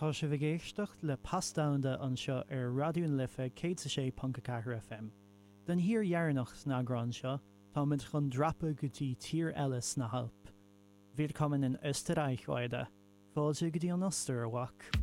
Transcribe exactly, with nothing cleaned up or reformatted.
Tá sibh ag éisteacht le Pas Domhanda anseo ar Raidió na Life céad sé ponc a ceathair FM. Den thír dheireanach san eagrán seo, táimid chun dreapadh go dtí tír eile sna hAilp. Willkommen in Österreich heute. Fáilte go dtí an Ostair a mhac.